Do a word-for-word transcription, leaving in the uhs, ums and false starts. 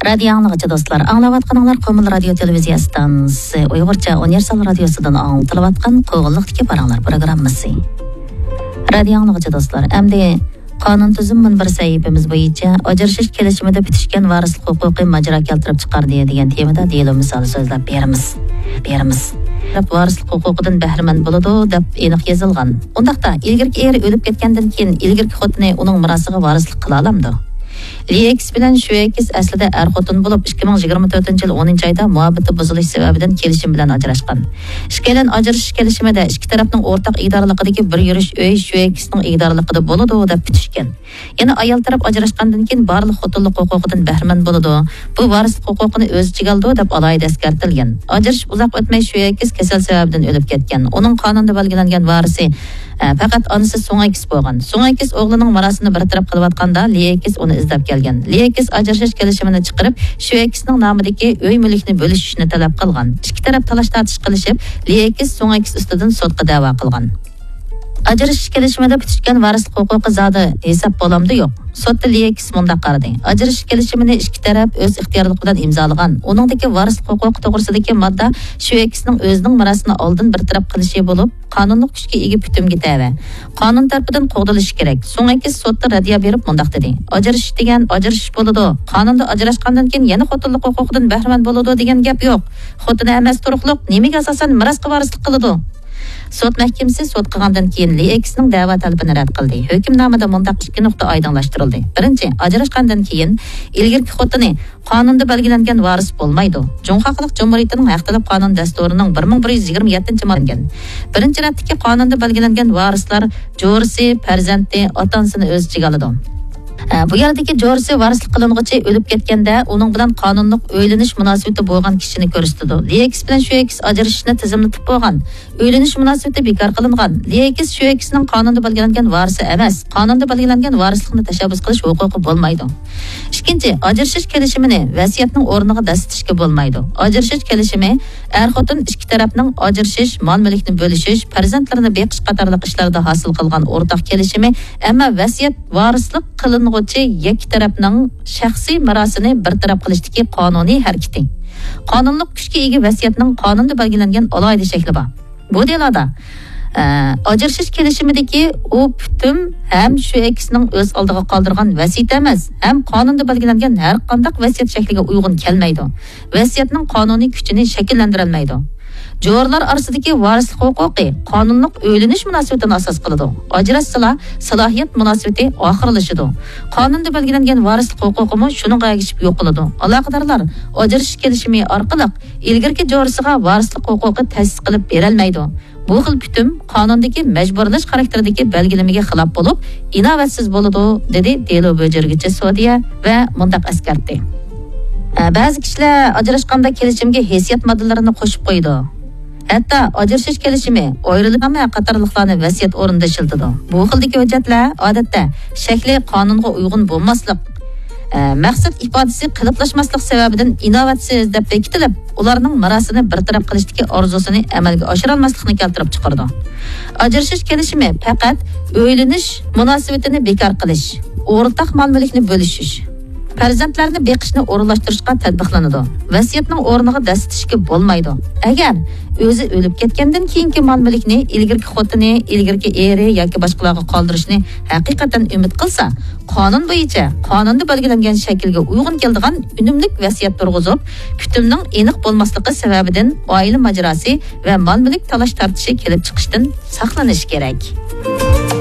رادىيو ئاڭلىغۇچى دوستلار، ئاڭلاۋاتقىنىڭلار قومۇل رادىيو تېلېۋىزىيە ئىستانسىسى ئۇيغۇرچە ئۇنىۋېرسال رادىيوسىدىن ئاڭلىتىلىۋاتقان قوغۇنلۇقتىكى پاراڭلار پروگراممىسى. رادىيو ئاڭلىغۇچى دوستلار، ئەمدى قانۇن تۈزۈم مۇنبىرى سەھىپىمىز بويىچە ئاجرىشىش كېلىشىمىدە پۈتۈشكەن ۋارىسلىق ھوقۇقى ماجىرا كەلتۈرۈپ چىقاردى دېگەن تېمىدا دېلو مىسالى سۆزلەپ بېرىمىز. بېرىمىز. ۋارىسلىق ھوقۇقىدىن بەھرىمەن بولىدۇ دەپ ئېنىق يېزىلغان. ئۇنداقتا ئىلگىرىكى ئېرى ئۆلۈپ كەتكەندىن كېيىن ئىلگىرىكى خوتۇنى ئۇنىڭ مىراسىغا ۋارىسلىق قىلالامدۇ؟ ليېكس بىلەن شۈەكىس ئەسلىدە ئەر-خوتۇن بولۇپ، ئىككى مىڭ يىگىرمە تۆتىنچى يىل ئونىنچى ئايدا مۇھەببىتى بۇزۇلۇش سەۋەبىدىن كېلىشىم بىلەن ئاجراشقان. ئىككىيلەن ئاجرىشىش كېلىشىمىدە ئىككى تەرەپنىڭ ئورتاق ئىگىدارلىقىدىكى بىر يۈرۈش ئۆي شۈەكىسنىڭ ئىگىدارلىقىدا بولىدۇ دەپ پۈتۈشكەن. يەنە ئايال تەرەپ ئاجراشقاندىن كېيىن بارلىق خوتۇنلۇق ھوقۇقىدىن بەھرىمەن بولىدۇ. بۇ ۋارىسلىق ھوقۇقىنى ئۆز ئىچىگە ئالىدۇ دەپ ئالاھىدە ئەسكەرتىلگەن. ئاجرىشىپ ئۇزاق ئۆتمەي شۈەكىس كېسەل سەۋەبىدىن ئۆلۈپ كەتكەن. ئۇنىڭ قانۇندا بەلگىلەنگەن ۋارىسى، ئە، پەقەت ئانىسى سۇڭئېكىس بولغان. سۇڭئېكىس ئوغلىنىڭ مىراسىنى بىر تەرەپ قىلىۋاتقاندا، ليېكىس ئۇنى ئىزدەپ كەلگەن. ليېكىس ئاجرىشىش كېلىشىمىنى چىقىرىپ، شۈەكىسنىڭ نامىدىكى ئۆي مۈلۈكنى بۆلۈشۈشنى تەلەپ قىلغان. ئىككى تەرەپ تالاش-تارتىش قىلىشىپ، ليېكىس سۇڭئېكىس ئۈستىدىن سوتقا دەۋا قىلغان. ئاجرىشىش كېلىشىمىدە پۈتۈشكەن ۋارىسلىق ھوقۇقى زادى ھېساب بولامدۇ؟ يوق. سوتتا ليېكىس مۇنداق قارىدى: ئاجرىشىش كېلىشىمىنى ئىككى تەرەپ ئۆز ئىختىيارلىقى بىلەن ئىمزالىغان. ئۇنىڭدىكى ۋارىسلىق ھوقۇقى توغرىسىدىكى ماددا شۈەكىسنىڭ ئۆزىنىڭ مىراسىنى ئالدىن بىر تەرەپ قىلىشى بولۇپ، قانۇنلۇق كۈچكە ئىگە پۈتۈمگە تەۋە. قانۇن تەرىپىدىن قوغدىلىشى كېرەك. سۇڭئېكىس سوتتا رەددىيە بېرىپ مۇنداق دېدى: ئاجرىشىش دېگەن ئاجرىشىش بولىدۇ. قانۇندا ئاجراشقاندىن كېيىن يەنە خوتۇنلۇق ھوقۇقىدىن بەھرىمەن بولىدۇ دېگەن گەپ يوق. خوتۇنى ئەمەس تۇرۇقلۇق نېمىگە ئاساسەن مىراسقا ۋارىسلىق قىلىدۇ؟ سوت مەھكىمىسى سوت قىلغاندىن كېيىن ليېكىسنىڭ دەۋا تەلىپىنى رەت قىلدى. ھۆكۈمنامىدە مۇنداق ئىككى نۇقتا ئايدىڭلاشتۇرۇلدى. بىرىنچى، ئاجراشقاندىن كېيىن ئىلگىرىكى خوتۇنى قانۇندا بەلگىلەنگەن ۋارىس بولمايدۇ. جۇڭخۇا خەلق جۇمھۇرىيىتىنىڭ ھەق تەلەپ قانۇن دەستۇرىنىڭ بىر مىڭ بىر يۈز يىگىرمە يەتتىنچى ماددىسى. بىرىنچى رەتتىكى قانۇندا بەلگىلەنگەن ۋارىسلار جورىسى، پەرزەنتى، ئاتا-ئانىسىنى ئۆز ئىچىگە ئالىدۇ. ئە، بۇ يەردىكى جورىسى ۋارىسلىق قىلىنغۇچى ئۆلۈپ كەتكەندە، ئۇنىڭ بىلەن قانۇنلۇق ئۆيلىنىش مۇناسىۋىتى بولغان كىشىنى كۆرسىتىدۇ. ليېكىس بىلەن شۈەكىس ئاجرىشىشنى تىزىملىتىپ بولغان. ئۆيلىنىش مۇناسىۋىتى بىكار قىلىنغان. ليېكىس شۈەكىسنىڭ قانۇندا بەلگىلەنگەن ۋارىسى ئەمەس. قانۇندا بەلگىلەنگەن ۋارىسلىقنى تەشەببۇس قىلىش ھوقۇقى بولمايدۇ. ئىككىنچى، ئاجرىشىش كېلىشىمىنى ۋەسىيەتنىڭ ئورنىغا دەسسىتىشكە بولمايدۇ. ئاجرىشىش كېلىشىمى ئەر-خوتۇن ئىككى تەرەپنىڭ ئاجرىشىش، مال-مۈلۈكنى بۆلۈشۈش، پەرزەنتلىرىنى بېقىش قاتارلىق ئىشلاردا ھاسىل قىلغان ئورتاق كېلىشىمى، ئەمما ۋەسىيەت ۋارىسلىق قىلىنغۇچى يەككە تەرەپنىڭ شەخسىي مىراسىنى بىر تەرەپ قىلىشتىكى قانۇنىي ھەرىكىتى. قانۇنلۇق كۈچكە ئىگە ۋەسىيەتنىڭ قانۇندا بەلگىلەنگەن ئالاھىدە شەكلى بار. بۇ دېلودا، ئە، ئاجرىشىش كېلىشىمىدىكى ئۇ پۈتۈم ھەم شۈەكىسنىڭ ئۆز ئالدىغا قالدۇرغان ۋەسىيىتى ئەمەس، ھەم قانۇندا بەلگىلەنگەن ھەر قانداق ۋەسىيەت شەكلىگە ئۇيغۇن كەلمەيدۇ. ۋەسىيەتنىڭ قانۇنىي كۈچىنى شەكىللەندۈرەلمەيدۇ. جورىلار ئارىسىدىكى ۋارىسلىق ھوقۇقى قانۇنلۇق ئۆيلىنىش مۇناسىۋىتىنى ئاساس قىلىدۇ. ئاجراشسىلا، سالاھىيەت مۇناسىۋىتى ئاخىرلىشىدۇ. قانۇندا بەلگىلەنگەن ۋارىسلىق ھوقۇقىمۇ شۇنىڭغا ئەگىشىپ يوقىلىدۇ. ئالاقىدارلار ئاجرىشىش كېلىشىمى ئارقىلىق ئىلگىرىكى جورىسىغا ۋارىسلىق ھوقۇقى تەسىس قىلىپ بېرەلمەيدۇ. بۇ خىل پۈتۈم قانۇندىكى مەجبۇرلاش خاراكتېرىدىكى بەلگىلىمىگە خىلاپ بولۇپ، ئىناۋەتسىز بولىدۇ، دېدى دېلو بۆجۈرگۈچى سودىيە ۋە مۇنداق ئەسكەرتتى. ئە، بەزى كىشىلەر ئاجراشقاندا كېلىشىمگە ھېسسىيات ماددىلىرىنى قوشۇپ قويىدۇ. ھەتتا ئاجرىشىش كېلىشىمى، ئايرىلماق قاتارلىقلارنى ۋەسىيەت ئورنىدا ئىشلىتىدۇ. بۇ خىلدىكى ھۆججەتلەر، ئادەتتە، شەكلى قانۇنغا ئۇيغۇن بولماسلىق، ئە، مەقسەت ئىپادىسى قېلىپلاشماسلىق سەۋەبىدىن ئىناۋەتسىز دەپ بېكىتىلىپ، ئۇلارنىڭ مىراسىنى بىر تەرەپ قىلىشتىكى ئارزۇسىنى ئەمەلگە ئاشۇرالماسلىقنى كەلتۈرۈپ چىقىرىدۇ. ئاجرىشىش كېلىشىمى پەقەت ئۆيلىنىش مۇناسىۋىتىنى بىكار قىلىش، ئورتاق مال-مۈلۈكنى بۆلۈشۈش، پەرزەنتلەرنى بېقىشنى ئورۇنلاشتۇرۇشقا تەتبىقلىنىدۇ. ۋەسىيەتنىڭ ئورنىغا دەسسىتىشكە بولمايدۇ. ئەگەر ئۆزى ئۆلۈپ كەتكەندىن كېيىنكى مال-مۈلۈكنى ئىلگىرىكى خوتۇنى، ئىلگىرىكى ئېرى ياكى باشقىلارغا قالدۇرۇشنى ھەقىقەتەن ئۈمىد قىلسا، قانۇن بويىچە، قانۇندا بەلگىلەنگەن شەكىلگە ئۇيغۇن كېلىدىغان ئۈنۈملۈك ۋەسىيەت تۇرغۇزۇپ، پۈتۈمنىڭ ئېنىق بولماسلىقى سەۋەبىدىن ئائىلە ماجىراسى ۋە مال-مۈلۈك تالاش-تارتىشى كېلىپ چىقىشتىن ساقلىنىش كېرەك.